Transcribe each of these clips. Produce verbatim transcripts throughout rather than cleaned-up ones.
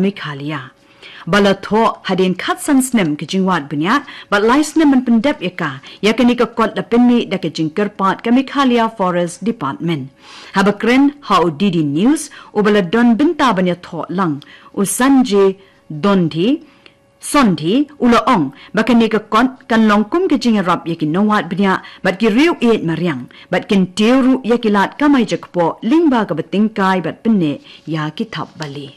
Meghalaya. Ba la thoh hadien khatsan snem ka jingwad bniah, bad lai snem ban pyndep ïa ka, ïa kane ka kot la pynmih da ka jingkyrpad ka Meghalaya Forest Department. Haba kren ha u D D News, uba la don bynta ban ïathoh lang, u Sanjay Dondhi, Sondhi, u la ong, ba kane ka kot kan long kum ka jingïarap ïa ki nongwad bniah, bad ki riew ïeit mariang, bad kyntiew ruh ïa ki lad kamai jakpoh, lyngba kaba tyngkai bad pynneh ïa ki thapbalieh.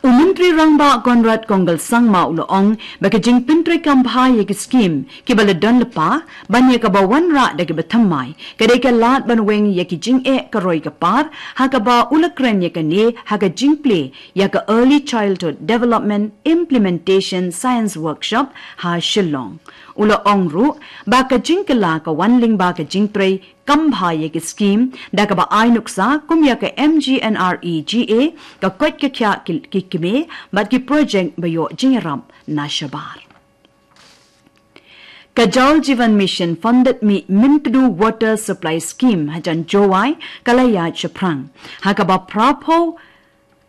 U Myntri Rangbah Conrad Kongkal Sangma u la ong, ba ka jingpyntreikam bha ïa ki skhim, kiba la don lypa, ban ïa kaba wanrah da kiba thymmai, ka dei ka lad ban weng ïa ki jingeh ka roi ka par, ha kaba u la kren ïa kane, ha ka jingplie, ïa ka Early Childhood Development Implementation Science Workshop, ha Shillong. U la ong ruh, ba ka jingkylla ka wan lyngba ka jingtrei kam bha ïa ki skhim, da kaba ai nuksa, kum ïa ka M G N R E G A, ka koit ka khiah ki, ki kmie, bad ki projek ba ïoh jingïarap na shabar. Ka Jal Jeevan Mission funded Mih Myntdu Water Supply Scheme hajan Jowai, ka la ïaid shaphrang. Ha kaba phra phew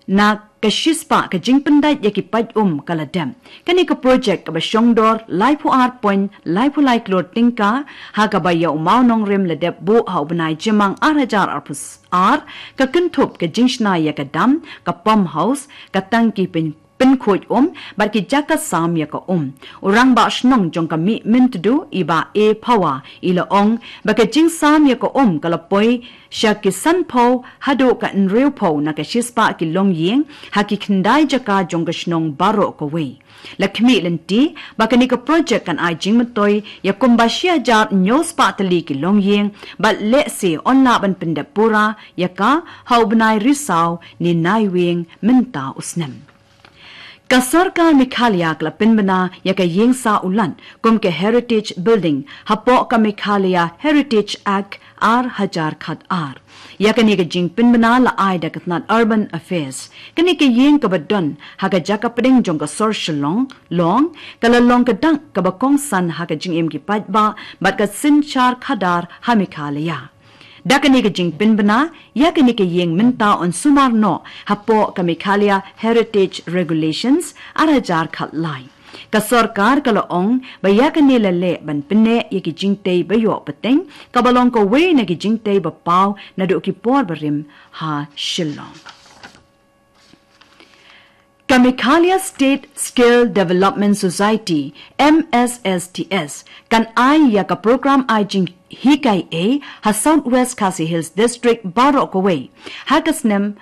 na ka shispah ka jingpyndait ïa ki pait um ka la dep. Kane ka projek kaba shongdor laiphew ar point laiphew lai klur tyngka, ha kaba ïa u mawnongrim la dep buh ha u bnai Jymmang ar hajar arphew ar, ka kynthup ka jingshna ïa ka dam, ka pump house, ka tangki pyn, pynkhuid um, bad ki jaka sam ïa ka um. U rangbah shnong jong ka Mih Myntdu, i Bah A Phawa, i la ong, ba ka jingsam ïa ka um ka la poi sha ki sanphew haduh ka hynriewphew na ka shispah ki longïing, ha ki khyndai jaka jong ka shnong baroh kawei. La khmih lynti, ba kane ka projek kan ai jingmyntoi ïa kumba shi hajar hynñiewspah tylli ki longïing, bad lehse yn lah ban pyndep pura ïa ka, ha u bnai Risaw, ne Naiwieng, mynta u snem. Ka sorkar Meghalaya ka la pynbna ïa ka ïing sah u lat, kum ka Heritage Building, hapoh ka Meghalaya Heritage Act ar hajar khat ar. Ïa kane ka jingpynbna la ai da ka tnat Urban Affairs. Kane ka ïing kaba don, ha ka jaka pdeng jong ka sor Shillong, Long, ka la long ka dak kaba kongsan ha ka jingim ki paidbah, bad ka synshar khadar ha Meghalaya. Da kane ka jingpynbna, ïa kane ka ïing mynta yn sumar noh, hapoh ka Meghalaya Heritage Regulations, ar hajar khat lai. Ka sorkar ka la ong, ba ïa kane la leh ban pynneh ïa ki jingtei ba ïoh pateng, kaba long kawei na ki jingtei ba paw naduh ki por barim ha Shillong. Ka Meghalaya State Skill Development Society, M S S D S, kan ai ïa ka program ai jinghikai ei ha South West Khasi Hills District baroh kawei, ha ka snem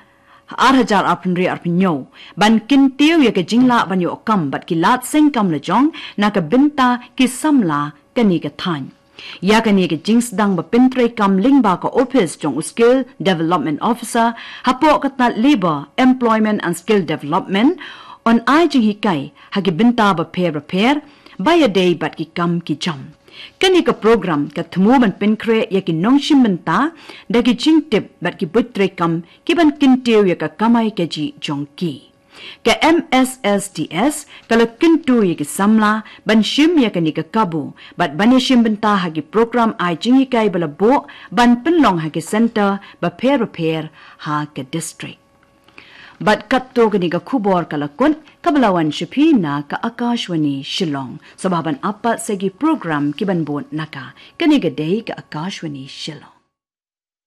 ar hajar arphew hynriew arphew hynñiew, ban kyntiew ïa ka jinglah ban ïoh kam bad ki lad seng kam lajong, na ka bynta ki samla kane ka thaiñ. Ïa kane ka jingsdang ba pyntreikam lyngba ka ophis jong u Skill Development Officer, hapoh ka tnat Labour, Employment and Skill Development, yn ai jinghikai ha ki bynta bapher bapher, ba ïadei bad ki kam ki jam. Kane ka program ka thmu ban pynkhreh ïa ki nongshim bynta, da ki jingtip bad ki buit treikam, ki ban kyntiew ïa ka kamai kajih jong ki. Ka M S S D S, ka la kyntu ïa ki samla, ban shim ïa kane ka kabu, bad ban ïashim bynta ha ki program ai jinghikai ba la buh, ban pynlong ha ki center bapher bapher ha ka district. Bad katto kane ka khubor ka la kut, kaba la wan sha phi na ka Akashvani Shillong. Sngewbha ban ap pat sa ki program ki ban bud na ka. Kane ka dei ka Akashvani Shillong.